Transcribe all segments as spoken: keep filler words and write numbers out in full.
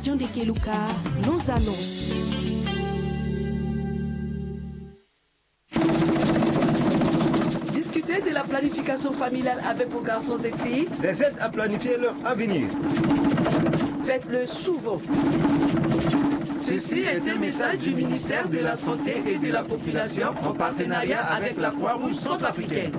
John de Keluka, nos annonces. Discutez de la planification familiale avec vos garçons et filles. Les aide à planifier leur avenir. Faites-le souvent. Ceci est un message du ministère de la Santé et de la Population en partenariat avec la Croix-Rouge centrafricaine.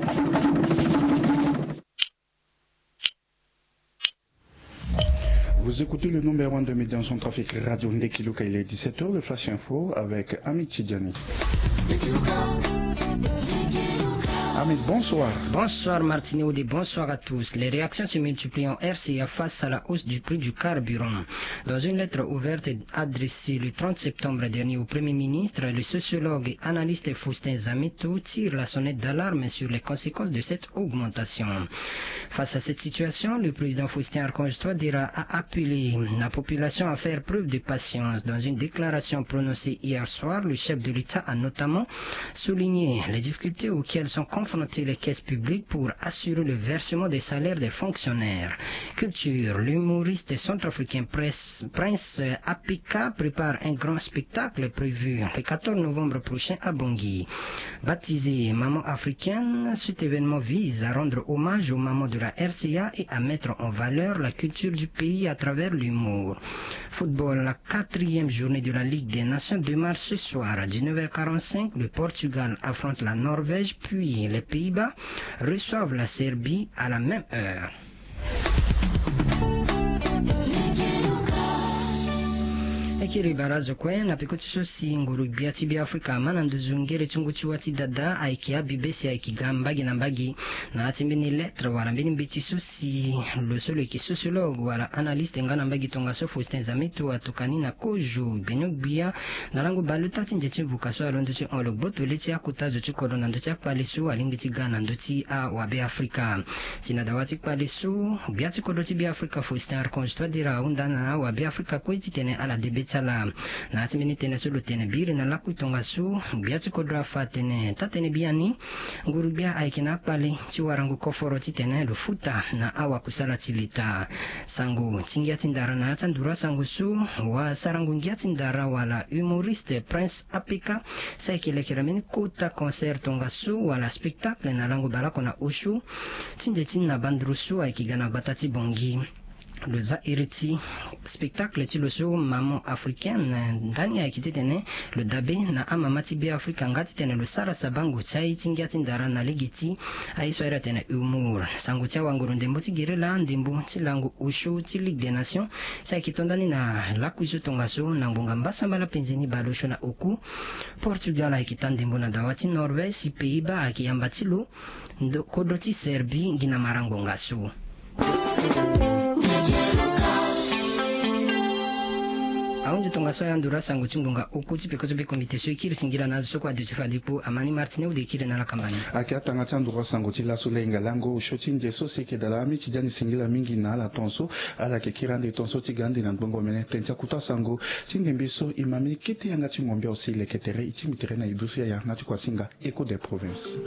Vous écoutez le numéro un de médias en centrafrique, Radio Ndekiluka. Il est dix-sept heures, le Flash Info avec Ami Tidjani. Ami, bonsoir. Bonsoir Martine Audé, bonsoir à tous. Les réactions se multiplient en R C A face à la hausse du prix du carburant. Dans une lettre ouverte adressée le trente septembre dernier au Premier ministre, le sociologue et analyste Faustin Zameto tire la sonnette d'alarme sur les conséquences de cette augmentation. Face à cette situation, le président Faustin Archange Touadéra a appelé la population à faire preuve de patience. Dans une déclaration prononcée hier soir, le chef de l'État a notamment souligné les difficultés auxquelles sont confrontées les caisses publiques pour assurer le versement des salaires des fonctionnaires. Culture, l'humoriste centrafricain Prince Apika prépare un grand spectacle prévu le quatorze novembre prochain à Bangui. Baptisée Maman africaine, cet événement vise à rendre hommage aux mamans de la R C A et à mettre en valeur la culture du pays à travers l'humour. Football, la quatrième journée de la Ligue des Nations démarre ce soir à dix-neuf heures quarante-cinq. Le Portugal affronte la Norvège, puis les Pays-Bas reçoivent la Serbie à la même heure. E kiri barazo kue na peko ti so si nguru gbia ti Beafrika ama na nduzu ngere ti ngu ti wâ ti dada ayeke abibe si ayeke ga mbage na mbage. Na ya ti mbeni lettre wala mbeni mbeti so si lo so lo yeke sociologue wala analyste nga na mbage tongaso Faustin Zameto atokani na kozo gbenyo-gbia na lango baleota ti nze ti vuka so alondo ti hon lo gboto le ti akota zo ti kodro na ndö ti akpale so alingbi ti ga na ndö ti awabeafrika. Si na dawa ti kpale so, gbia ti kodro ti Beafrika Faustin Archange Touadéra ahunda na awabeafrika kue titene ala de be ti ala. Na ya ti mbeni tënë so lo tene biri na lakui tongaso, gbia ti kodro afa atene taa-tënë biani, nguru-gbia ayeke na akpale ti warango koforo titene lo futa na awakusala ti leta. Sango ti ngia ti ndara na ya ti anduru asango so, wasarango ngia ti ndara wala humoriste Prince Apika si ayeke lekere mbeni kota concert tongaso wala spectacle na lango baleoko na osio ti nze ti na banduru so ayeke ga na gbata ti Bangui. Lo za iri ti spectacle ti lo so Maman africaine, ndani ayeke titene lo dabe na amama ti Beafrika nga titene lo sara sabango ti aye ti ngia ti ndara na lege ti aye so ahiri atene humour. Sango ti awanguru ndembo ti gere laa ndembo ti lango osio ti Ligue des Nations si ayeke to ndani na lakui so tongaso na ngbonga mbasambala penze ni baleosio na oku. Portugal ayeke taa ndembo na dawa ti Norvège si Pays-Bas ayeke yamba ti lo. Ndo kodro ti Serbie ngi na mara ngbonga so. Ahunzi tongaso ayanduru asango ti ngbonga oku ti peko ti be komite so e kiri singila na azo so kue ade ti fade kpo. Amani Martine Audé e kiri na ala kamba ni. Ayeke atanga ti anduru asango ti laso le hinga lango osio ti nze so si e yeke dala ami ti dia ni singila mingi na ala tonso. Ala yeke kiri ande tonso ti ga ande na ngbongo omene tënë ti akuta sango ti ndembe so e ma mbeni kete yanga ti ngombe aussi leke tere e tingbi tere na Idriss Yaya na ti kua singa Écho des provinces.